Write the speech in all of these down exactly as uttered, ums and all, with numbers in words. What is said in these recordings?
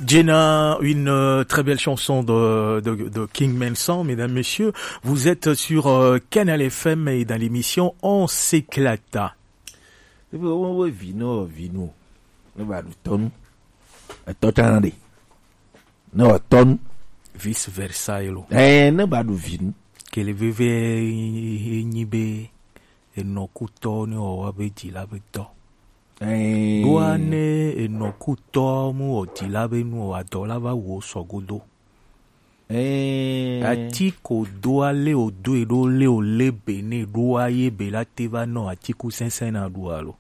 Jenna, une euh, très belle chanson de, de, de King Manson, mesdames, messieurs. Vous êtes sur euh, Canal F M et dans l'émission On s'éclata. Ebe wo wo vi no vi no. Ne ba du tɔnu. Etɔ tana de. Ne wa tɔnu. Vice versa elo. Eh, ne ba du vi nu. Kele veve nyi be enɔkutɔ ne wa be di la be tɔ. Ɛɛ. Ɖoa ne enɔkutɔ mu wɔ dila be nu o, adɔ la va wo sɔ godo. Ɛɛ. Ati ko doa le o do e ɖo le o le be ne ɖoa ye be la te va nɔ atiku sɛnsɛn na ɖu alo.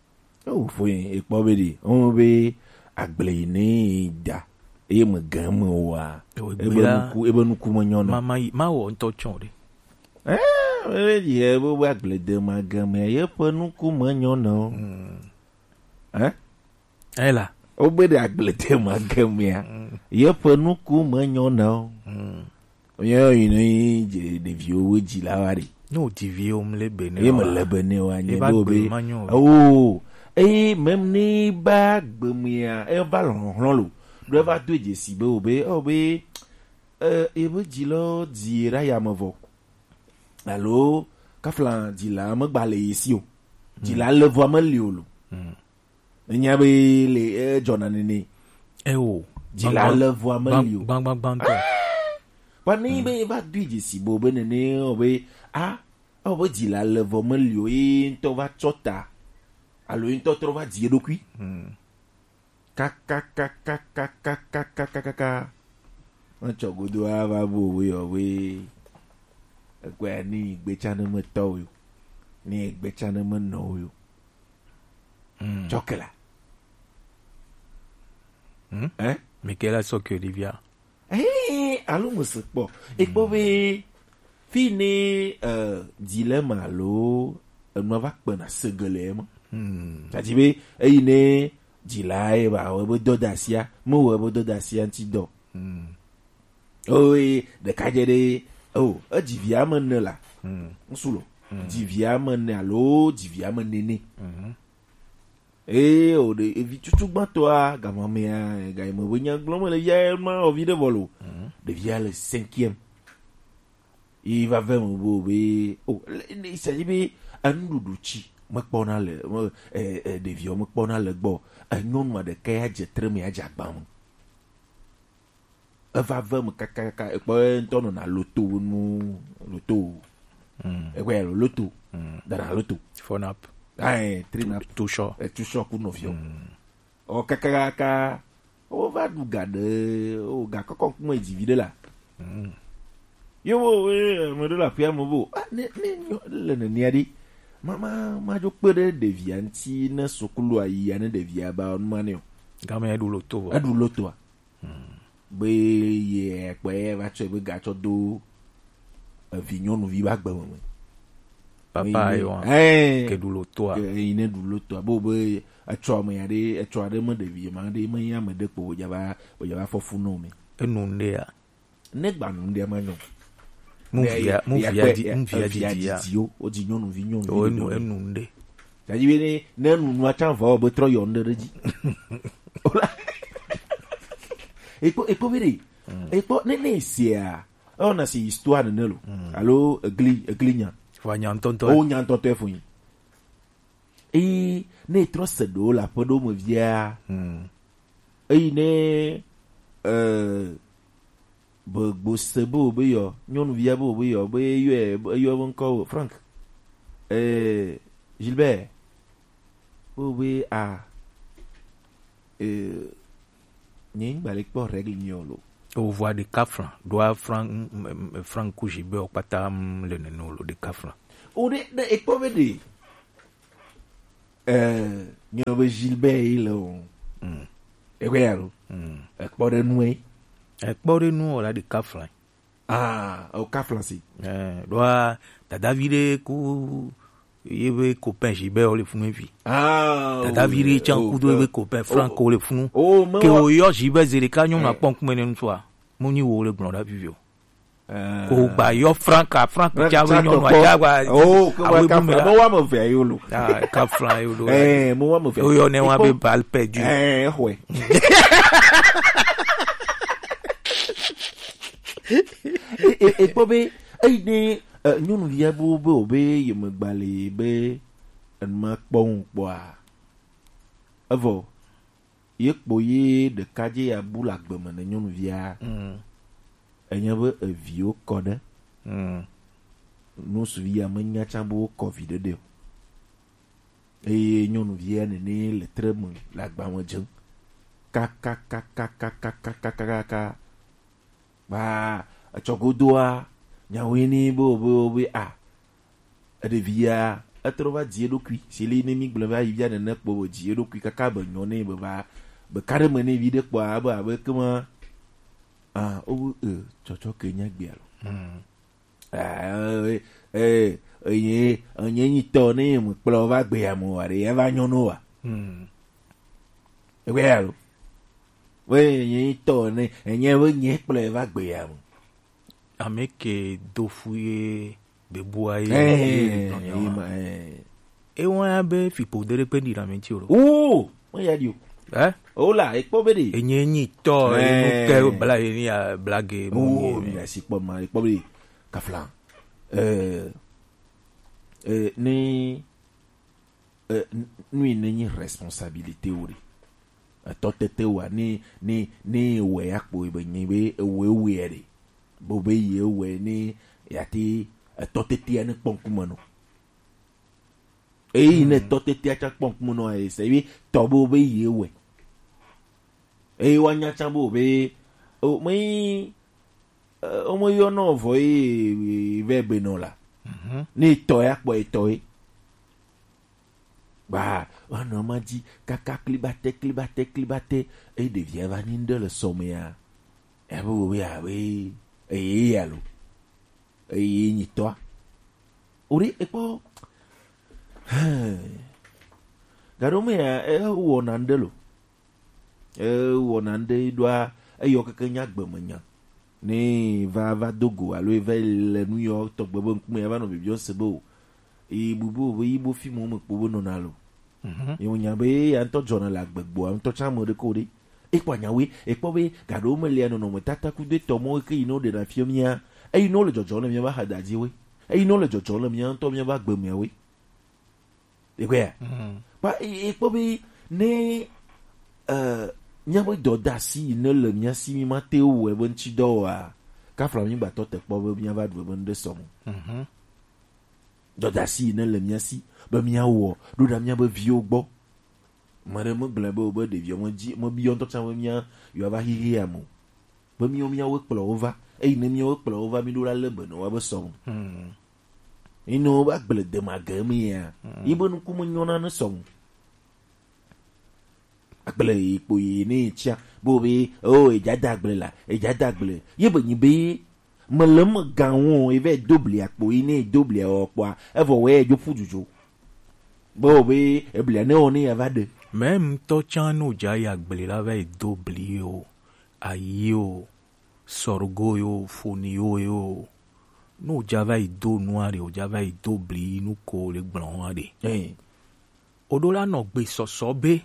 O fo yin ekpɔ be ɖi o be agble yi ne da eye me gan me wa. Ebe nuku ebe nuku me nyɔ nɔ. Ma ma yi ma wɔ ŋutɔ tsɔ ɖe. Ɛɛ, ebe yi ebe agble de ma gan me ye ƒe nuku me nyɔ nɔ. Hmm. Hein? Ela. Wobe ɖe agble te ma gemea. Mm. Yeƒe nuku me nyɔ na o. Mm. Yɔ yi ne yi dze ɖeviwo wo dzi la wa ɖe. Ne wò dziviwo mle be ne ye me le be ne wa nye do be. Oh, eye mem ne ba gbemea e va lɔhlɔhlɔ lo. Do va do dzesi be o be o be eh ebe dzi lo dzi ra ya me vɔ. Alo kafla dzi la me gba le yesi o. Dzi la le vɔ me li o lo. Mm. Enya be le edzɔna nene. Ewo. Dzila le vɔa meli o. Gbangbangbangtɔ. Kpa ne be va do dzesi bo be nene o be a o be dzila le vɔ meli o ye ŋutɔ va tsɔ ta alo ye ŋutɔ trɔ va dzi eɖokui. Kakakakakakakakaka. Etsɔ godo ava bo we o we. Ekpɛ ni gbetsa ne me tɔ o yo. Ni gbetsa ne me nɔ o yo. Tsɔkela. Hmm? Hein? Michaela sɔ ke ɖevia. Eh, alo mo se kpɔ. Ekpɔ be fi ne euh, dilemme alo enua va kpena segele ema. Hmm. Tadi be eyi ne dila ye ba wo be dɔdasia, mo wo be dɔdasia ŋti dɔ. Hmm. Oye ɖeka dze ɖe o edzi vi ame ene la. Hmm. Ŋsu lo. Hmm. Dzi vi ame ene alo dzi vi ame nene. Mhm. Eye o ɖe evi tutu gbãtɔa gamamea ga yi me be nya gblɔm le via ma o vi ɖe vɔ lo. Mhm. Ɖevia le cinquième. Yi va ve me bo be o le- ne sa dzi be enuɖuɖu tsi mekpɔna le me- e- e- ɖeviwo mekpɔna le gbɔ. Enyɔnua ɖeka ya dze tre me ya dze agba me. Eva ve me kakakaka ekpɔ ye ŋutɔ nɔna loto nu loto. Mm. Ekpɔ ya lo loto. Mm. Dana loto. Phone app. Ayi trinap. Tusɔ. Etusɔ ku nɔviɔ. Mm. Ɔ kakakaka wova ɖu ga ɖe o ga kɔkɔ ŋkume dzi vi ɖe la. Mm. Yo wo ame ɖe le aƒea me bo ah, ne ne nyɔ le nenea ɖi ma ma ma dzo kpe ɖe ɖevia ŋuti ne sukulu ayi ya ne ɖevia ba nu ma ne o. Game eɖu loto vɔ. Eɖu lotoa. Be ye kpɛ ye va tsɔe be gatsɔ do evi nyɔnuvi ba gbe me. Papa yi wa ke ɖu lotoa. Yi ne ɖu lotoa bo be etsɔ ame ya ɖe etsɔ aɖe me ɖevi ma ɖe me ya me ɖe kpo wodza va wodza va fɔ fu no me. Enu ŋɖe ya. Ne gba nu ŋɖe ma nyɔ. Mu via mu via di mu via di ya. Wo di nyɔnuvi nyɔnuvi. Enu enu ŋɖe. Tadi be ne ne nunua tsã vɔ be trɔ yɔ ŋɖe ɖe dzi. Ola. Ekpɔ ekpɔ be ɖe. Ekpɔ ne ne esia. Ewɔna si histoire nene lo. Alo egli egli nya. Fo nya ŋtɔŋtɔ. O nya ŋtɔŋtɔ efo nyi. Eye ne etrɔ se ɖewo le aƒe ɖewo me via. Eyi ne eh, be gbose be wo be yɔ nyɔnuvia be wo be yɔ be eyɔe eyɔ be ŋkɔ wo Frank eh, Gilbert be wo be a eh, nye ŋgba le kpɔ règle nyɔ lo. Wovɔa ɖeka flan ɖoa flan flan kuzi be wo kpata le nene lo ɖeka flan. O ɖe ɖe ekpɔ be ɖe Eh, nyɔ be Gilbert yi le o. Mm. Ekpɔ ya lo. Mm. Ekpɔ ɖe nu e. Ekpɔ ɖe nu o la ɖe kaflan. Ah, o kaflan si. Eh, ɖoa dadavi ɖe ku ye be copain Gilbert o le funu evi. Ah, dadavi ɖe tsan kudo ye be copain Frank o le funu. Ke o yɔ Gilbert ze ɖeka nyɔnu akpɔ ŋkume ne ŋutsua. Mo nyi wo le gblɔ ɖa vivi o. Ko gba yɔ Franka Frank tsa be nyɔnu atsa gba. Oh, ke awe wa bu me kafla la. Mo wa me ve yo lo. Ah, kafla yo lo. Eh, mo wa me ve. Yo yo ne wa be balle perdu. Eh, ouais. E, e kpɔ be, eyi ne, e, nyɔnuvia bo be o be ye me gba le be enu ma kpɔ ŋu kpɔa. Evɔ, ye kpo ye ɖeka dze ya bu le agbe me ne nyɔnuvia. Mm. Enye be eviwo kɔ ɖe. Mm. Nusuvi ya menya tsã be wokɔ vi ɖe ɖe o. Eye nyɔnuvia nene le tre me le agba me dzem. Kakakakakakakakaka. Ba, etsɔ godoa, nyawoe ni be, be, be, a, eɖevia, etrɔ va dzi eɖokui. Si li ne mi gblẽ va yi via nene kpo be dzi eɖokui kaka be nyɔ ne be va, be ka ɖe me ne vi ɖe kpɔa, be abe kema, a, o, e, tsɔtsɔ ke nya gbea lo. Hmm. Ah, eh, eh, enye, enye nyitɔ ne mekplɔ va gbea me wa ɖe, eva nyɔ no wa. Hmm. Egbe ya lo. We enye nyitɔ ne, enye be nye kplɔ va gbea me. Ame ke do fu ye bebua ye, eh, ye nɔ ya eh, wa. Eh. Ewa ya be fipo de ɖe kpe ɖi na me ti o lo. Oh, me ya di o. Eh? O la, ekpɔ be ɖe. Enye nyitɔ, eh, enu ke bla ye ni ya blage. Oh, mi asi kpɔ ma, ekpɔ be ɖe. Kafla. Eh, eh, ni, eh, n-, nu yi ne nyi responsabilité wo ɖe. Etɔ tete wa, ni, ni, ni wɛ ya kpo be nyi be ewe we ɖe. Bo be ye we ni ya ti etɔ tete ya ne kpɔ ŋkume no. Eyi ne tɔ tetea tsã kpɔ ŋkume nɔ ese wi tɔ bo be ye wɛ. Eye wa nya tsã bo be o me yi o me yɔ nɔ vɔ yi vɛ be nɔ la. Ne tɔ ya kpɔ etɔ yi. Ba wa nɔ ma dzi kaka klibate klibate klibate eye ɖevia va nyi ŋɖe le sɔmea. Ebe wo be abe eye ya lo. Eye nyitɔa. Ori ekpɔ. Gaɖo me ya ewɔ na ŋɖe lo. Ewɔ na ŋɖe ɖoa eyɔ keke nya gbe me nya. Ne va va do go alo eva le nu yɔ tɔgbe be ŋkume ya va nɔ bibiɔ se be o. Yi bubu be yi bo fi mo me kpo be nɔna lo. Ye mo nya be ya ŋutɔ dzɔna le agbegboa ŋutɔ tsã me ɖe ko ɖe. Ekpɔ nyawoe, ekpɔ be gaɖewo me lia nɔnɔmetata kudo etɔ mɔ ke yi ne woɖena fia mía, eyi ne wole dzɔdzɔm le míaƒe axadadziwoe, eyi ne wole dzɔdzɔm le mía ŋutɔ míaƒe agbe meawoe. Ekpɔea? Kpa e- ekpɔ be ne eh, míaƒe dɔdeasi yi ne le mía si mí mate ŋu wɔe be ŋuti dɔ oa, kafla mí gbatɔ te kpɔ be míava ɖu ebe ŋɖe sɔ mo. Dɔdeasi yi ne le mía si be míawɔ ɖo ɖa míaƒe viwo gbɔ. Ame ɖe megblɔe be wobe ɖeviwo medzi mebiɔ ŋutɔ tsã be mía yewoava xixi ame o. Be míawo míawoe kplɔ wo va. Eyi ne míawoe kplɔ wo va mí ɖo la lé be ne woabe sɔ ŋu. Yi ne wobe agble de ma ge eme ya. Yi be nuku me nyɔna ne sɔ ŋu. Agble yi kpo yi ne tsia. Bo be o edza da agble la, edza da agble. Ye be nyi be Mele eme gã ŋu o, eva do blia kpo, yi ne do blia wɔ kpɔa, evɔ wɛ edzo ƒu dzudzo. Be o be eblia ne wɔ ne ya va ɖe. Mɛ ŋutɔ tsã no dza ya gble la va yi do bli o, ayi o, sɔrgo yo, foni yo yo. No dza va yi do nua ɖe, o dza va yi do bli nu ko le gblɔ wa ɖe. Eh. O ɖo la nɔ gbe sɔsɔ be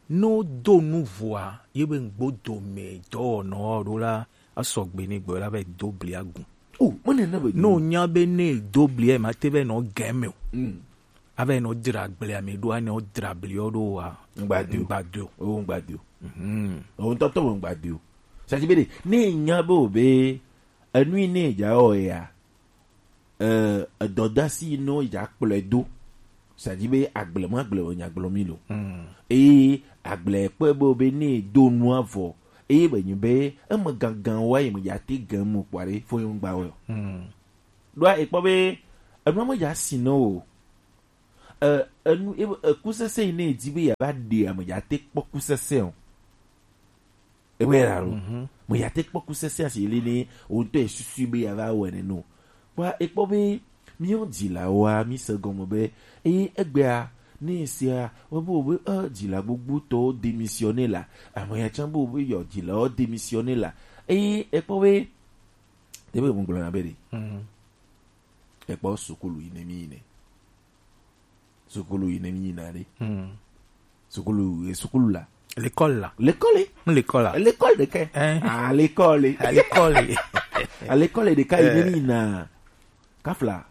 Ne wodo nu vɔa, ye be ŋgbo dome dɔwɔnɔ ɖo la, asɔ gbe ne gbɔ la va yi do bli agu. O, mene ne be Ne wonya be ne do bli ma te va nɔ gɛ me o. Mm. Ava nɔ dra gble ame ɖo, ane wodra bli wo ɖo wa. Ŋgba do. Ŋgba do. O, ŋgba do. Mhm. O, ŋutɔtɔ me ŋgba do. Sa ti be ɖe, ne nya be o be, enui ne dza wɔ ya, eh, edɔdasi yi nɔ yi dza kplɔe do. C'est-à-dire be agble ma agble wònya gblɔ mi lo. Eye agble kpɔe be, be ne do nua vɔ. Eye be nyi be eme gangan wa yi me dza te gan mu kpɔ ɖe fo yɔn gba wɛ. Ɖoa ekpɔ be enua me dza si nɔ o. Eh, enu, e- ekusese yi ne di be ya va ɖe ame dza te kpɔ kusese o. Ewɔe la lo. Me ya te kpɔ kusese asi li ni wo ŋutɔ esusu be ya va wɔ ene no. Kpɔ ekpɔ be míawo dzilawoa, mi se gɔme be, eye egbea, ne esia, wo be, wo be, eh, dzila gbogbo tɔwo démissionner la, ame ya tsã be, wo be yɔ dzilawo démissionner la. Eye ekpɔ be, te be mo gblɔ na be ɖe. Ekpɔ sukulu yi ne mi yi ne. Sukulu yi ne mi yina ɖe. Sukulu, eh, sukulu la. L'école la. L'école. L'école la. L'école de qué? Hein? Ah, l'école. Ah, l'école. Alekɔle ɖeka yi ne mi na kafla.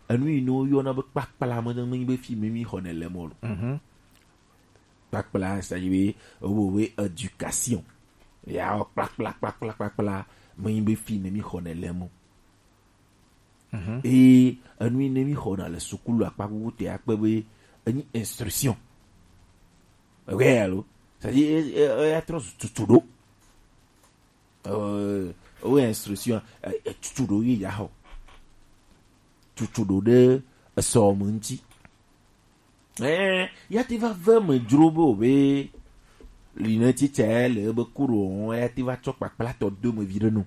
Enu yi ne woyɔna be kpakpla me ne menyi be fi mi mi xɔ ne le mɔ lo. Mhm. Kpakpla, c'est-à-dire be wo be éducation. Ya wo kpakpla kpakpla kpakpla menyi be fi ne mi xɔ ne le mɔ. Mhm. Eye enu yi ne mi xɔna le sukulu akpa kuku te akpe be enyi instruction. Ewe alo? C'est-à-dire e, e, e, ya trɔ tutu ɖo. Euh, wo instruction, eh, eh, tutu ɖo yi ya xɔ. Tutu ɖo ɖe esɔ me ŋuti. Eh, ya te va ve me dzro be o be li ne titsa le ebe kuro o, ya te va tsɔ kpakpla tɔ do me vi ɖe no.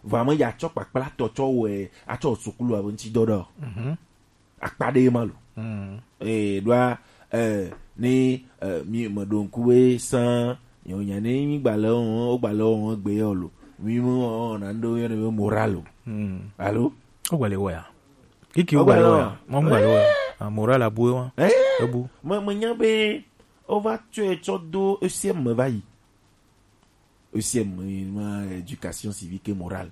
Vɔ ame ya tsɔ kpakpla tɔ tsɔ wɛ atsɔ sukulu ave ŋuti dɔ ɖe o. Mhm. Akpa ɖe ma lo. Mm. Eh, ɖoa, eh, ni, eh, mi me ɖo ŋku be san, yo nya ne mi gba le o, o gba le o gbe yo lo. Mi mo o na ndo yo ne be moral o. Mm. Alo? O gba le wa ya. Kiki o gba le wa ya. Mo gba le wa ya. Ah, moral abu wa. Eh? Ebu. Me, me nya be o va tsɔe tsɔ do E C M me va yi. E C M, ma éducation civique et morale.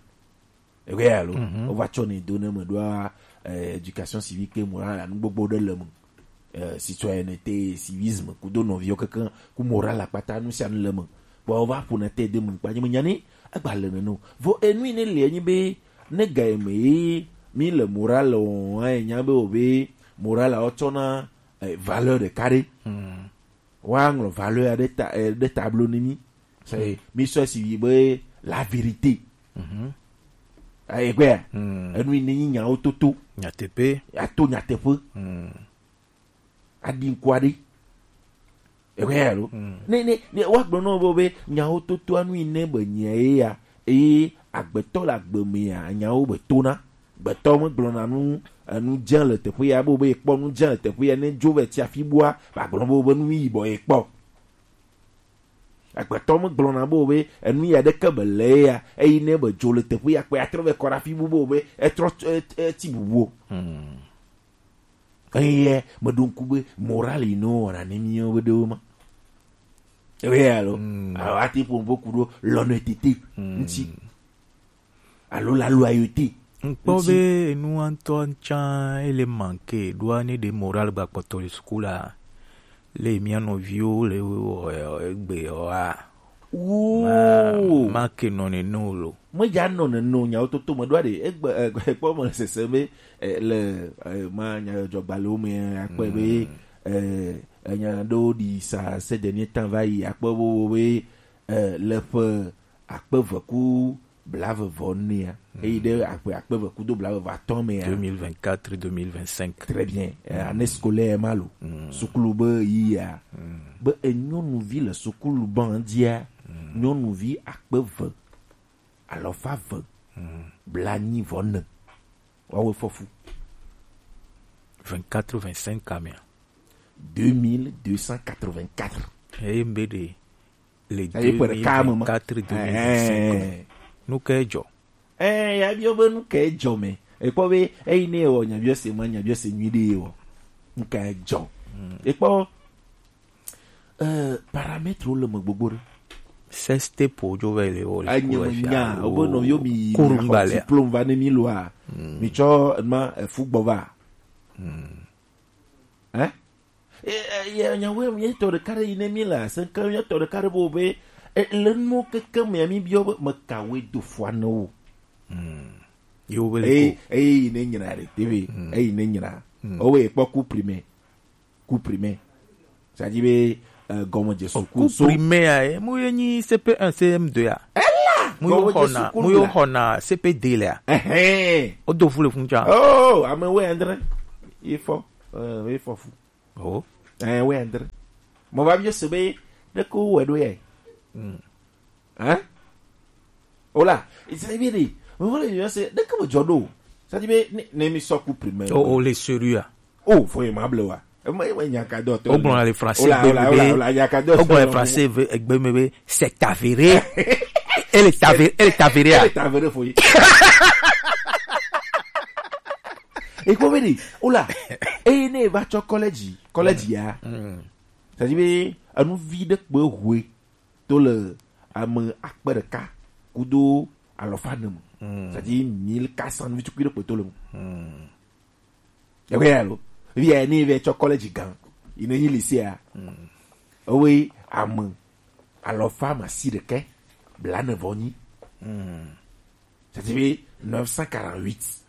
Ewe alo, mhm, o va tsɔ ne do ne me ɖoa, eh, éducation civique et morale, anu gbogbo ɖe le me. Eh, citoyenneté, civisme, kudo nɔviwo kekeŋ, ku moral akpata, nu sia nu le me. Kpɔ o va ƒo na te de me, kpa nye me nya ni, agba le nene o. Vɔ enu yi ne le enyi be, ne ga yi me ye, mi le moral o, eh, nya be o be, moral a o tsɔ na, eh, valeur ɖeka ɖe. Hmm. Woaŋlɔ valeur ɖe ta, eh, ɖe tablo ne mi. C'est, mi sɔ si yi be la vérité. Mhm. Ayi gbea. Hmm. Enu yi ne nyi nyawo toto. Nyateƒe. Ato nyateƒe. Hmm. Aɖi ŋkua ɖi. Egbea lo. Hmm. Ne, ne, ne, woagblɔ na wo be, be nyawo toto anu yi ne be nya ye ya. Eye agbetɔ le agbe mea, nyawo be tona. Gbetɔ megblɔna nu, enu dze le teƒe ya, be, be ekpɔ nu dze le teƒe ya, ne dzo vɛ tsi afi bua, ba gblɔ be, be nu yibɔ ekpɔ. Agbetɔ megblɔna be, be enu ya ɖeke be le ya, eyi ne be dzo le teƒe ya, kpɛ atrɔ vɛ kɔ ɖe afi bu be, be etrɔ, e, e, tsi bubu o. Hmm. Eye meɖo ŋku be moral yi ne wowɔna ne míawo be ɖewo ma. Ewe ya lo. Hmm. Alo ati ƒo ŋu ku ɖo l'honnêteté. Hmm. Ŋuti. Alo la loyauté. Ŋkpɔ be enua ŋutɔ tsã ele manke ɖoa ne ɖe moral gba kpɔtɔ le suku la, le mía nɔviwo le wɔ egbe wa. Woo. Ma, ma ke nɔ nene o lo. Me dza nɔ nene o, nyawo toto me ɖoa ɖe. Egbe, eh, kpɔ me le sese be, eh, le, eh, ma nya dzɔgbalewo me akpɔe be, mm, eh, enya ɖewo ɖi sa ces derniers temps va yi akpɔ be, be, eh, le ƒe akpe eve ku blaeve vɔ enea, mm, eyi ɖe akpe akpe eve kudo blaeve vɔ atɔ̃ mea. Deux mille vingt-quatre, deux mille vingt-cinq. Très bien. Euh, mm, année scolaire ma lo. Mm. Sukulu be yi ya. Mm. Be enyɔnuvi le sukulu ban dzia, mm, nyɔnuvi akpe eve, alafa eve, mm, blaenyi vɔ ene. Woawoe fɔ fu. Vingt-quatre, vingt-cinq kamea. Deux mille deux cent quatre-vingt-quatre. Eye mbe ɖe le deux mille vingt-quatre, deux mille vingt-cinq. Eh. Nu kae dzɔ? Eh, ya biɔ be nu kae dzɔ me. Ekpɔ be eyi ne wɔ nyabiɔ se ma, nyabiɔ se nyui ɖe wɔ. Nu kae dzɔ? Hmm. Ekpɔ, eh, paramètre le me gbogbo ɖe. Sextape wo dzo vɛ le wo le. Anya me nya, wo be nɔ yo mi kuru ŋgba le diplôme va ne mi loa. Hmm. Mi tsɔ ma, eh, fu gbɔ va. Hmm. Hein? E, e, ye, nyawoe, míetɔ ɖeka ɖe yi ne mí le asẽke, míetɔ ɖeka ɖe be, be, e, le nuwo keke mea, mí biɔ be, mekawoe do fua ne wo? Hmm. Yo be le eye, ko. Eye yi ne nyra ɖe, te be, hmm, eyi ne nyra. Hmm. Owe kpɔ ku primɛ. Ku primɛ. C'est-à-dire be, e, gɔmedze suku. Ku so. Primɛ ya, e, mu ye nyi C P un, C M deux ya. Ela! Mu yo xɔna, mu yo xɔna C P deux le ya. Ɛhɛn. O do fu le fun tsa. Oh, ame wɛ andre. Ifɔ. E, ifɔ fu. Oh. Ɛ, wɛ andre. Mo va biɔ se be, ɖeke wowɔe ɖo yɛ. Mm. Hein? Ola, c'est bien dit. Mo va le biɔ se, ɖeke me dzɔ ɖo. Ça dit be, ne, ne mi sɔ ku primɛ. Oh, oh, le sérieux. Oh, faut y mable wa. E ma, e ma nya ka dɔ to. O gblɔ le français gbe be. Ola, ola, ola, nya ka dɔ. O gblɔ le français ve, egbe me be, c'est avéré. Elle est avérée, elle est avérée. Elle est avérée, faut y. Ekpɔ be ɖi, ola, eye ne eva tsɔ kɔlɛdzi, kɔlɛdzi ya. Mm. C'est-à-dire be, enu vi ɖe kpe hoe to le ame akpe ɖeka kudo alɔfa ne me. C'est-à-dire mille quatre cents, vi tukui ɖe kpɔtɔ le me. Ewe ya lo. Vi ya ne ve tsɔ college gan. Il ne yi lycée a. Ewe ame alɔfa masi ɖekɛ bla ne vɔ nyi. C'est-à-dire neuf cent quarante-huit.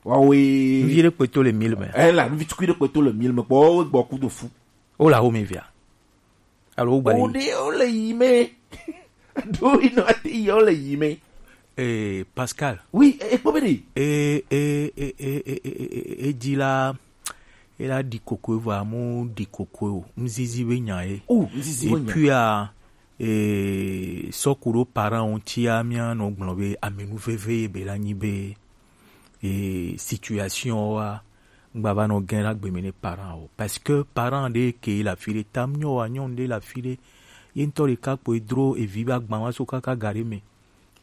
Wawe. Nvi ɖe kpɔtɔ le mille me. Eh la, vi tukui ɖe kpɔtɔ le mille me. Kpɔ wo gbɔ kudo fu. O la wo me via. Alo wo gba. O de o le yi me. Do ino ati yi o le yi me. Eh, Pascal. Oui, e kpɔ be de. Eh, eh, eh, eh, eh, eh, eh, eh, eh, di la, e la di koko vɔ, amu di koko o. Mzizi be nya e. Oh, mzizi be nya. Et puis, ah, eh, sɔku ɖo parent ŋuti a mia nɔ gblɔ be amenu veve ye be la nyi be, eh, situation wa ŋgba va nɔ gɛn ɖe agbe me ne parent o. Parce que parent ɖe ke le afi ɖe, tam nyɔ wa nyɔnu ɖe le afi ɖe, ye ŋutɔ ɖeka kpoe dro evi be agban wa so kaka ga ɖe me.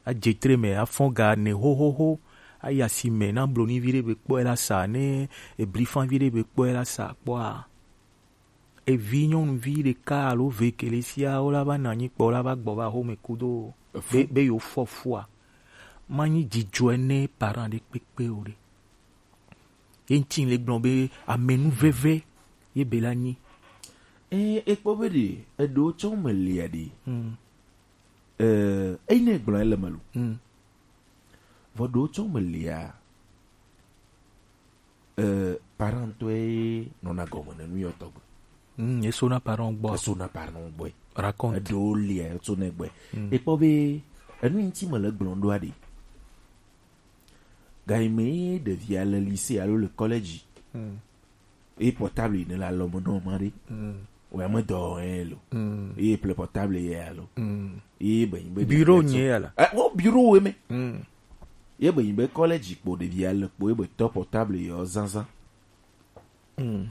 Adze tre me, afɔn ga ne hohoho, ayi asi me na blonivi ɖe be kpɔe la sa, ne eblifanvi ɖe be kpɔe la sa kpɔa. Evi nyɔnuvi ɖeka alo ve kele sia wo la va nɔ anyi kpɔ, wo la va gbɔ va xɔme kudo be, be yewo fɔ fua. Manyi dzidzɔe ne parent ɖe kpekpe o ɖe. Ye ŋuti le gblɔ be amenu veve ye be la nyi. Eh, e kpɔ be ɖe eɖewo tsɔ me lia ɖe. Hmm. Eh, eyi ne gblɔ ele me lo. Hmm. Vɔ ɖewo tsɔ me lia. Eh, parent tɔe nɔna gɔme ne nu yɔ tɔgbe. Hmm, eso na parent gbɔ. Eso na parent gbɔ. Raconte. Eɖewo lia, eso ne gbɔ. Hmm. E kpɔ be enu ŋuti me le gblɔ ɖoa ɖe. Gayi me ɖevia le lycée alo le college. Hmm. Ye portable ne la lɔ me nɔ ma ɖe. Hmm. Wa me dɔ ɛ lo. Hmm. Ye ple portable ye alo. Hmm. Ye be nyi be bureau nye ya la. Eh, wo bureau we me. Hmm. Ye be nyi be college kpo ɖevia le kpo ye be tɔ portable ye zanzan. Hmm.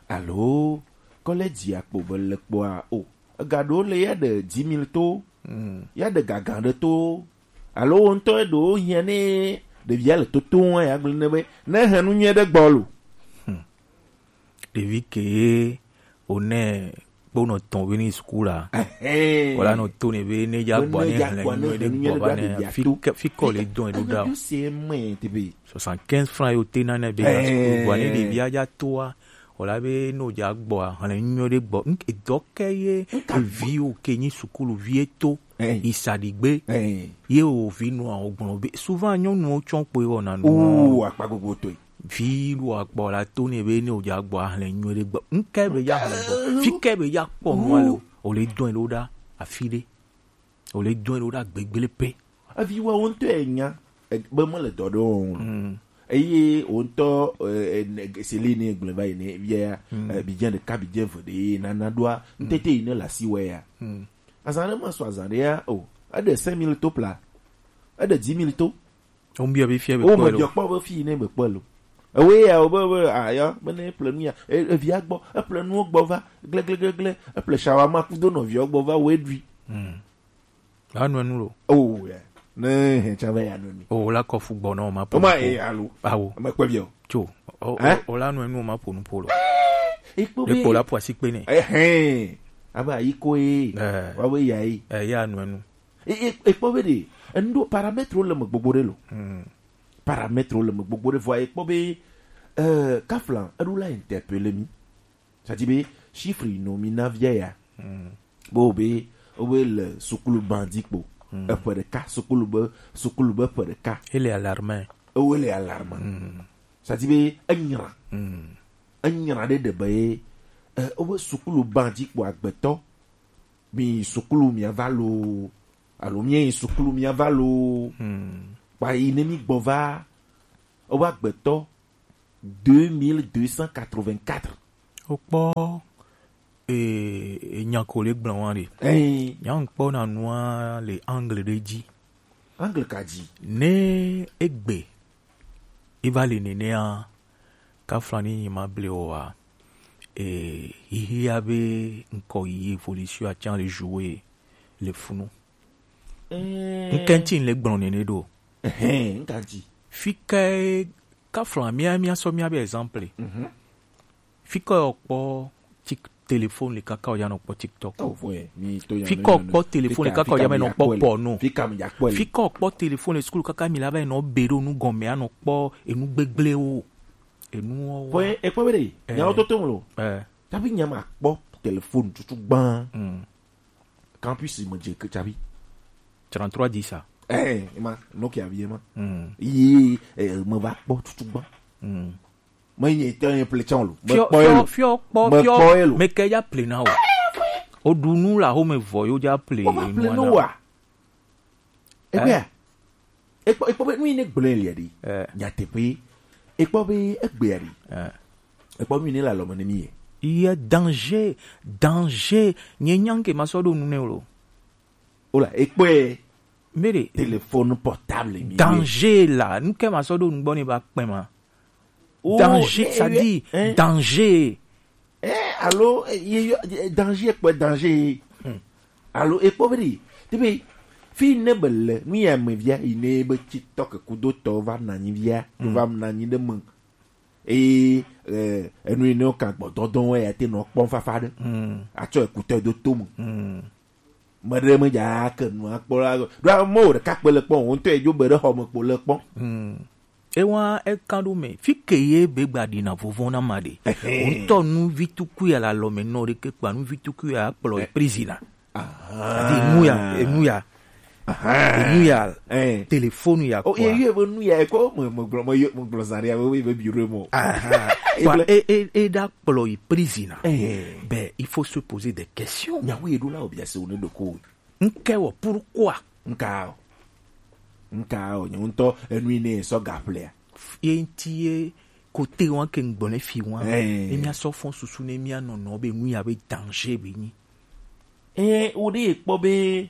Alo college akpo be le kpoa o. Ega ɖewo le ya ɖe dix mille to. Hmm. Ya ɖe gagan ɖe to. Alo wo ŋutɔ ɖewo hiã ne ɖevia le toto wa ya gblɔ ne be ne he nu nyuie ɖe gbɔ lo. Hmm. Ɖevi ke ye o ne kpo nɔ tɔn be ni school la. Ehɛn. Wala nɔ to ne be ne ya gbɔ ne hlɛ nyuie ɖe gbɔ va ne fi kɔ le dɔn eɖo da o. Soixante-quinze francs yo te na ne be ya school gbɔ ne ɖevia ya toa. Wòla be ne wòdze agbɔa, hlẽ nyuie ɖe gbɔ. Edɔ ke ye eviwo ke nyi sukuluvi eto yi saɖigbe. Ye wò vi nɔa wò gblɔ be souvent nyɔnuwo tsɔ kpoe wɔna nu. Oo, akpa gbogbo tɔe. Vi ɖo agbɔ la to ne be ne wòdze agbɔa, hlẽ nyuie ɖe gbɔ. Ŋke be ya hlẽ gbɔ. Fi ke be ya kpɔ nua le o. Wòle dɔn ɖo ɖa afi ɖe. Wòle dɔn ɖo ɖa gbegble pe. Eviwa wo ŋutɔ enya be mele dɔ ɖe wɔm o. Eye wo ŋutɔ seli ne gblẽ va yi ne via bidze ɖeka bidze eve ɖe nana ɖoa ŋutete yi ne le asi wɔ ya. Azã ɖe me sɔ azã ɖe ya o. Eɖe cinq mille to pla. Eɖe dix mille to. Wo ŋbiɔ be fia be kpɔ lo. Wo me kpɔ be fi ne be kpɔ lo. Ewe ya wo be be aya be ne ple nu ya. Evia gbɔ, eple nuwo gbɔ va glegleglegle, eple shawama kudo nɔviwo gbɔ va wo eɖui. La nɔ enu lo. Oh yeah. Ne he tsa va ya nɔ mi. O la kɔ fu gbɔ nɔ ma po. O ma e alo. Awo. Me kpɔ bi o. Tso. O la nɔ enu ma po nu po lo. E kpɔ be. E kpɔ la po asi kpe ne. Ehɛn. Aba yi ko e. Wa we ya yi. Eh, ya nɔ enu. E kpɔ be de. Endo paramètre le me gbogbo de lo. Paramètre le me gbogbo de vɔ e kpɔ be. Euh, Kaflan, eɖo la interpeller mi. C'est-à-dire be chiffre yi nɔ mi na via ya. Bo be o be le sukulu bandi kpo. Eƒe ɖeka sukulu be sukulu be ƒe ɖeka. Ele alarme. Ewo le alarme. C'est-à-dire be enyra. Enyra ɖe ɖe be eh, o be sukulu bandi kpo agbetɔ. Mi sukulu mi ava lo. Alo mi sukulu mi ava lo. Kpa yi ne mi gbɔ va. O be agbetɔ. Deux mille deux cent quatre-vingt-quatre. Wokpɔ e, e nya ko le gblɔ wa ɖe. Nya ŋkpɔ na nua le angle ɖe dzi. Angle ka dzi? Ne egbe e va le nenea, Kaflan ni nyi ma ble o wa. E hihia be ŋkɔ yi evolution a can le jouer le funu. Ŋkɛntsi le gblɔ nene ɖo. Ŋkɛntsi. Fi ke Kaflan mia mia sɔ mia be exemple. Fi ke o kpɔ tik Téléphone le kaka o ya nɔ kpɔ TikTok. Oh, ouais, mi to ya. Fika o kpɔ téléphone le kaka o ya mɛ nɔ kpɔ porno. Fika mi ya kpɔ. Fika o kpɔ téléphone le sukulu kaka mi la va nɔ be ɖo nu gɔmɛ anɔ kpɔ enu gbegble o. Enu o. Fo e kpɔ be de. Eh. Nya o to to lo. Eh. Tabi nya ma kpɔ téléphone tutu gban. Mm. Campus me je ke tabi. Trente-trois dix a. Eh, ma, Nokia vie ma. Mm. Yi, eh, me va kpɔ tutu gban. Mm. Me nye te nye ple tsã lo. Me kpɔ ye lo. Fiɔ kpɔ, me fiɔ kpɔ ye lo. Me ke ya ple na o. O ɖu nu la ho me vɔ yo ja ple. O va ple nu wa. Egbea. Ekpɔ, ekpɔ be nu yi ne gblẽ lia ɖi. Eh. Nyateƒe. Ekpɔ be egbea ɖi. Eh. Ekpɔ nu yi ne le alɔme ne mi ye. Ye danger, danger. Nye nya ke ma sɔ ɖo nu ne o lo. Ola, ekpɔe. Mbere. Téléphone portable mi. Danger la, nu ke ma sɔ ɖo nugbɔ ne ba kpɛ ma. Oh, danger, eh, ça eh, dit, eh. Danger. Eh, alo, eh, ye, ye, eh, danger, ekpɔe danger. Hmm. Alo, ekpɔ be ɖi. Te be, fi ne be le, nu ya me via, yi ne be TikTok kudo tɔ va na nyi via, hmm, va na nyi ɖe me. Eye, eh, enu yi ne wo kan gbɔ dɔdɔ wo ya te nɔ kpɔm fafa ɖe. Hmm. Atsɔ ekutɔ do to me. Hmm. Meɖe me dza ke nu akpɔ la. Ɖo amewo ɖeka kpe le kpɔ, wo ŋutɔ edzo be ɖe xɔ me kpo le kpɔ. Hmm. Ewa eka ɖo me. Fi ke ye be gba ɖi na vovo na ma ɖe. Ehe. Wo ŋutɔ nu vi tukui ala lɔ me nɔ ɖe ke kpa nu vi tukui a kplɔ e prison na. Aha. Adi nu ya, enu ya. Aha. Enu ya. Eh. Téléphone ya. Oh, kpɔ. Ye, ye, be nu ya, ko, me, me gblɔ, me, me gblɔ zã ɖe, be, be bureau mo. Aha. Kpɔ, e, e, e ɖa kplɔ yi prison na. Eh. Ben, il faut se poser des questions. Nyawo ye ɖo la, obi ase wo ne ɖo ko. Nke wɔ, pourquoi? Nka o. Nka o, nye ŋutɔ, enu yi ne sɔ gaƒlea. Ye ŋti ye kote wa ke ŋgbɔ ne fi wa. Eh. Ne mia sɔ fɔn susu ne mia nɔnɔ be nu ya be danger be nyi. Eh, wo ɖe kpɔ be,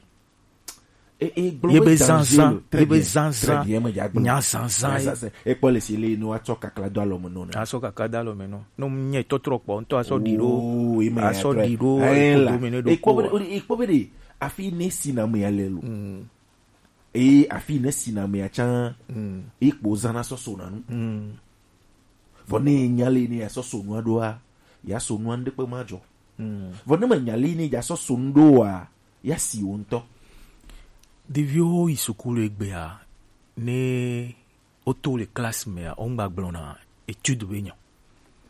e, e, gblɔ ye be be danger zanzan, lo. Très ye be bien. Zanzan, très bien, me dza gblɔ. Nya zanzan ye. Nya zanzan. E kpɔ le si le no atsɔ kakla do alɔ me no na. Asɔ kakla do alɔ me no. No nye tɔtrɔ kpɔ, ŋutɔ asɔ ɖi ɖo. Oh, e me asɔ ya ɖi ɖo, eh, e la. Kodo me ne ɖo e kpɔ be ko. E kpɔ be de, afi ne si na me ya le lo. Mm. Eye afi ne sina mea tsã, mm, ye kpo zãna sɔ sona nu. Mm. Vɔ ne enya le ne ya sɔ so nua ɖoa, ya so nua ŋɖekpe ma dzɔ. Mm. Vɔ ne menya le ne ya sɔ so nu ɖoa, ya si wo ŋutɔ. Ɖeviwo yi sukulu egbea, ne woto le classe mea, wo ŋgba gblɔna étude be nya.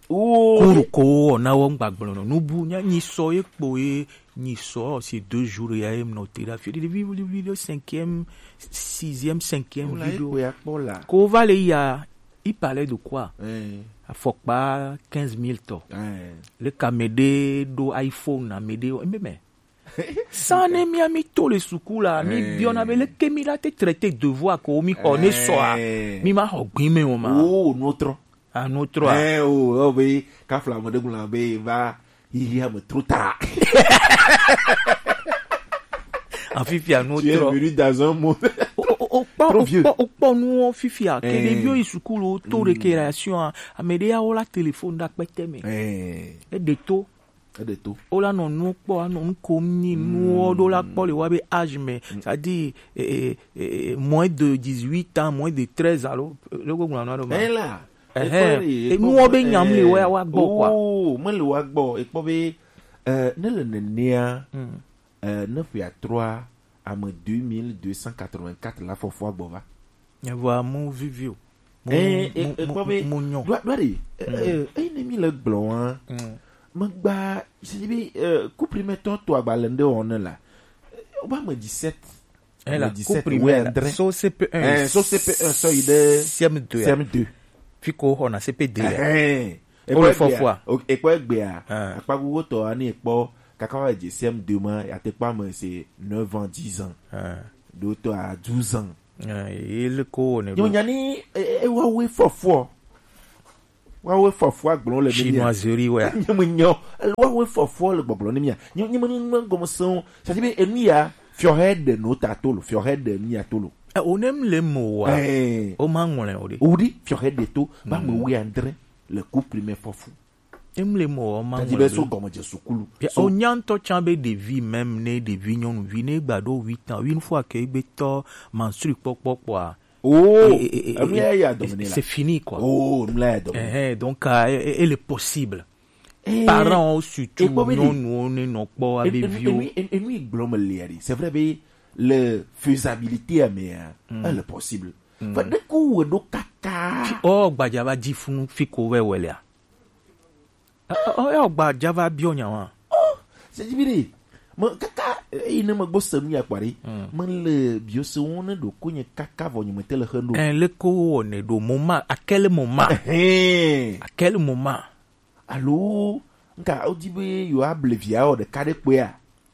Oh, cours ko wowɔ na wo ŋgba gblɔ nɔ. Nubu nya nyi sɔ ye kpo ye nyi sɔ ces deux jours ya ye nɔ te ɖe afi ɖe vi vi ɖe cinquième, sixième, cinquième. Wala vi ye ɖo. Kpo ya kpɔ la. Ko va le ya, il parlait de quoi? Eh. Afɔkpa quinze mille tɔ. Eh. Le ka me ɖe ɖo iPhone na me ɖe o. Eme me. Sane mia mi to le suku la, mi biɔna be leke mi la te traité devoir ko mi xɔ ne sɔa, mi ma xɔ gbin me o ma. Oh, no trɔ. Ah, no trɔ. Eh, oh, oh, be, kafla mo de gula be, va, hihi ame trop tard. Afifi a no trɔ. Tu es venu dans un monde trop vieux. O kpɔ, o kpɔ nu fifi a, ke ɖeviwo yi suku lo, to récréation a, ame ɖe ya wo la téléphone ɖe akpete me. Eh. E ɖe to. Eɖe to. Wo la nɔ nuwo kpɔ, anɔ nu kom nyi nuwo ɖo la kpɔ le wa be âge me, c'est-à-dire, eh, eh, eh, moins de dix-huit ans, moins de treize alo, eh, loko gblɔ na ɖo ma. Ela. Ehe, ekpɔ be, enuwo be nyam le wa, wa gbɔ kɔa. Oh, me le wa gbɔ, ekpɔ be, eh, ne le nenea, eh, ne ƒea trɔa, ame deux mille deux cent quatre-vingt-quatre la fɔfɔa gbɔ va. Evɔa mu vivi o. Mu, eh, mu, eh, mu, kpɔ be, mu nyɔ. Ɖo, ɖo ɖe, eh, eh, eyi ne mi le gblɔ wa. Mm. Megba, si be, eh, cours primaire tɔ to agbalẽ ɖe wɔn ne la. Eh, wobe ame dix-sept. Eh, la, ame dix-sept, cours primaire, ouais, la, André. So C P un. Eh, so C P un, so yi ɖe C M deux. C M deux. Fi ko xɔna C P deux ya. Eh, eh. Wo le fɔfɔa. Ekpɔ egbea. Ah. Akpa gugu tɔ ani ekpɔ kaka wa dze C M deux ma, ya te kpɔ ame se neuf ans, dix ans. Ah. Ɖo tɔ à douze ans. Ah, ye le ko ne. Yo nya ni, e, e, wa we fɔfɔ. Wa we fɔfɔ agblɔ le mi. Chinoiserie, ouais. Nye me nyɔ. Wa we fɔfɔ le gbɔgblɔ ne mi. Nye, nye me ni ŋmɛ gɔme sɔn. Ça dit, enu ya, fiɔhɛ de no ta to lo, fiɔhɛ de nu ya to lo. Eh, o nem le mo wa. Eh. O ma ŋlɛ o de. O di, fiɔhɛ de to, ba me we André, le cours primaire fɔfu. Emle mɔ ma. Tadi be so gɔmedze sukulu. Ya, so o nya ŋutɔ tsã be ɖevi, même ne ɖevi nyɔnuvi ne gba ɖo huit ans, une fois que egbe tɔ menstrue kpɔkpɔ kpɔa. Oh, e, e, e, enu ya ya dɔme ne la. C'est fini quoi. Oh, enu la ya dɔme. Eh, eh, donc, euh, e, e, elle est possible. Eh, parents surtout, ekpɔ be ɖe nyɔnuwo ne nɔ kpɔ abe viwo. Enu, enu, enu yi gblɔm le ya ɖi. C'est vrai be le faisabilité ya mea, hmm, elle est possible. Hmm. Fa ɖe ko wɔ ɖo kaka. Fi-, ɔ, gbadza va dzi funu fi ko vɛ wɛ lea. Ɔ, ɔ, ɔ, ɔ, gbadza va biɔ nya wa. Oh, c'est dit, bide. Me kaka, eh, yi ne me gbɔ se nu ya kpɔ ɖe. Hmm. Me le biɔ se wo ne ɖo ko nye kaka vɔ nye me te le xe ɖo. Eh, le ko wɔ ne ɖo mo ma, à quel moment? Ehe. À quel moment? Alo, nka, wodi be yewoa ble via wɔ ɖeka ɖe kpɔea?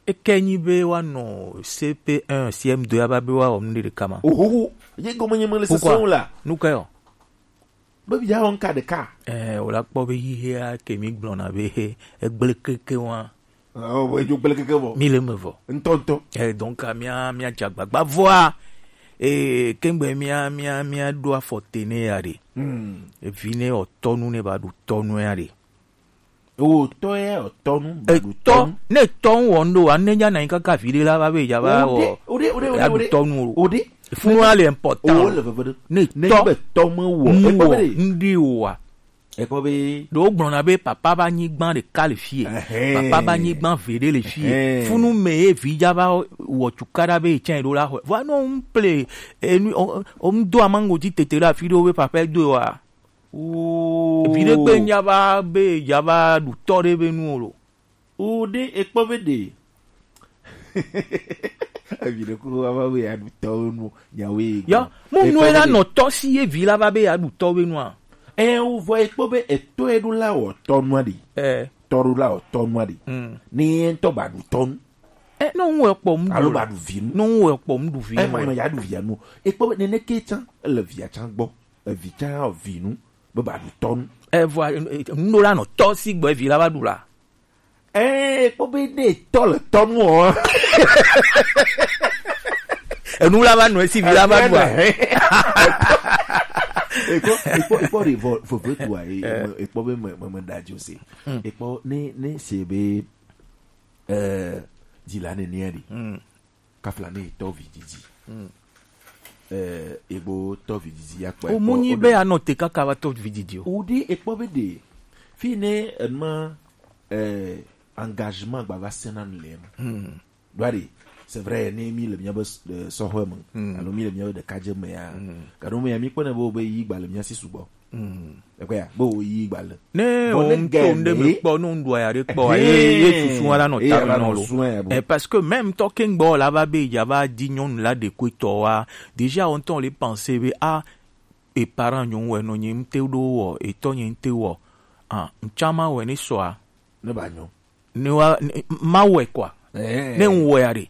Eke nyi be woanɔ C P un, C M deux ava be woawɔ nu ɖe ɖeka ma. Ohoho, ye gɔme nye mele sese o la. Pourquoi? Nu kae o? Be via wɔ nka ɖeka. Eh, wòla kpɔ be xixea ke mi gblɔna be he, egblẽ keke wa. Oh, edzo gblẽ keke vɔ. Mi le eme vɔ. Ŋutɔŋutɔ. Eh, donc, mía, mía dze agbagba vɔa, eh, kengbe mía, mía, mía ɖo afɔ te ne ya ɖe. Hmm. Evi ne wɔ tɔnu ne ba ɖu tɔnu ya ɖe. O tɔ ya, o tɔnu, ba ɖu etɔ tɔnu. Ne tɔnu wɔ ŋɖo wa, ne nya na nyi kaka vi ɖe la va be ya va wɔ, o ɖe, o ɖe, o ɖe, o ɖe, ya ɖu tɔnu o. O ɖe. Funu a le important. O le veve ɖe. Ne ne tɔ be tɔ me wɔ, nu ekpɔ wɔ, be ɖe. Ŋɖi o wa. Ekpɔ be. Ɖewo gblɔna be papa ba nyigban ɖeka le fie. Ɛhɛn. Papa ba nyigban ve ɖe le fie. Ɛhɛn. Funu me ye vi dza va wɔ cukaɖa be etsɛ ɖo la xɔe. Vɔa no ŋ ple, enu, o, o, ŋ do amango dzi tete ɖe afi ɖewo be papa do wa. Oo. Vi ɖe gbe nya va be ya va ɖu tɔ ɖe be nu o lo. O ɖe ekpɔ be ɖe. Evi ɖe ko va va be ya ɖu tɔ nu nyawe. Ya, mo nu la nɔ tɔ si ye vi la va be ya ɖu tɔ be nua. Ɛ, o vɔ ekpɔ be etɔ e ɖo la wɔ tɔ nua ɖi. Ɛ. Tɔ ɖo la wɔ tɔ nua ɖi. Mm. Ne ye ŋutɔ ba ɖu tɔ nu. Ɛ, no ŋu ekpɔ mu. Alo ba ɖu vi nu. No ŋu ekpɔ mu ɖu vi. Ɛ, nu. Ma ya ɖu via nu. Ekpɔ be nene ke tsan, ele via tsan gbɔ. Evi tsan o vi nu. Be ba ɖu tɔ nu. Ɛ, vɔ, ɛ, ɛ, nu ɖo la nɔ tɔ si gbɔ evi la va ɖu la. Ee, kpɔ be ne tɔ le tɔ nu o. Enu la va nɔ esi vi la va ɖua. Ekpɔ, ekpɔ, ekpɔ ɖe vɔ, veve tua, e, e, ekpɔ be me, me, me da dzo se. Hmm. Ekpɔ ne, ne se be, eh, dzila nene ɖi. Hmm. Kafla ne tɔ vi didi. Hmm. Eh, egbo tɔ vi didi ya kpɔ. O mu nyi be anɔ te kaka va tɔ vi didi o. O ɖe ekpɔ be ɖe. Fi ne enuma, eh, engagement gba va sena nu le eme. Hmm. Ɖoa ɖe, c'est vrai, ne mi le mía be s-, eh, sɔhɔe me, hmm, alo mi le mía be ɖekadze me ya, hmm, gado me ya, mi kpɔnɛ be wo be yi gba le mía si sugbɔ. Hmm. Ekpɔ ya, be wo yi gba le. Ne o ŋutɔ ŋɖe me kpɔ, ne ŋɖo ya ɖe kpɔ, ye, ye susu wa la nɔ ta me nɔ lo. Eh, parce que même tɔ ke ŋgbɔ la va be ya va di nyɔnu la ɖe ko etɔ wa, déjà o ŋutɔ le penser be, ah, e parent nyɔnu wɛ nɔ nye ŋte ɖo wɔ, etɔ nye ŋte wɔ. Ah, ŋtsama wɛ ne sɔa. Ne ba nyɔ. Ne wa, ne, ma wɔe kɔa. Eh. Ne ŋ wɔe aɖe.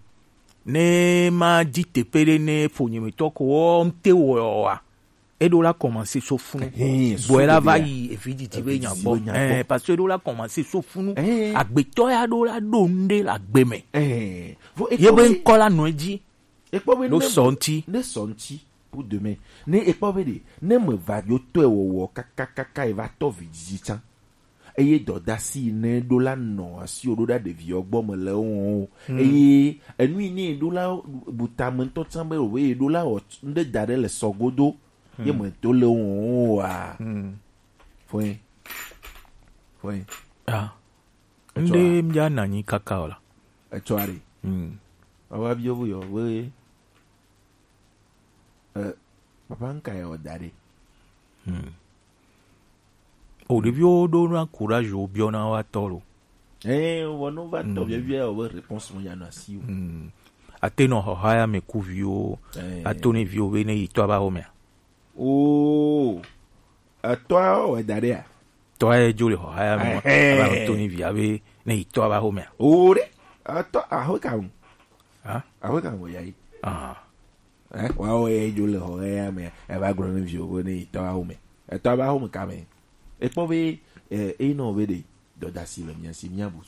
Ne ma dzi teƒe ɖe ne ƒonyemetɔ ko wɔ ŋte wɔa. Eɖo la commencer so funu. Eh, bɔe la va yi evi didi be nya gbɔ. Eh, parce que eɖo la commencer so funu. Eh. Agbetɔ ya ɖo la ɖo ŋɖe le agbe me. Eh. Ye be ŋkɔ la nɔ edzi. Ekpɔ be ɖo ne sɔ ŋti. Ne sɔ ŋti pour demain. Ne ekpɔ be ɖe, ne me va yo tɔe wɔwɔ kakakaka e va tɔ vi didi tsan. Eye dɔdasi ne ɖo la nɔ asi o ɖo ɖa ɖeviwo gbɔ me le wo o. Hmm. Eye enu yi ne ɖo la bu tame ŋutɔ tsan be o ye ɖo la wɔ ŋɖe da ɖe le sɔ godo. Hmm. Ye me to le wo o wa. Hmm. Fɔe. Fɔe. Ah. Etsɔ ŋɖe a? Mía na nyi kaka o la. Etsɔ a ɖe. Hmm. Awa biɔ bu yɔ we. Eh, papa ŋka yɔ da ɖe. Hmm. O ɖeviwo ɖo na courage wo biɔna wa tɔ lo. Eh, wɔ no va tɔ, hmm, biabia o be réponse mo ya na si o. Hmm. Ate nɔ xɔxa ya me ku viwo. Eh. Ato ne viwo be ne yi tɔ aba xɔ mea. Oo. Etɔa wɔ da ɖe a? Tɔa ye dzo le xɔxa ya me. Ɛhɛn. Aba to ni via be ne yi tɔ aba xɔ mea. O ɖe. Etɔ axwe ka ŋu? Ha? Axwe ka ŋu ya yi? Ah. Eh, wa wo ye dzo le xɔxa ya me. Eva gblɔ ne viwo be ne yi tɔ axwe me. Etɔ aba xɔ me ka me. Ekpɔ be, eh, e nɔ be ɖe dɔdasi le mía si, mía bu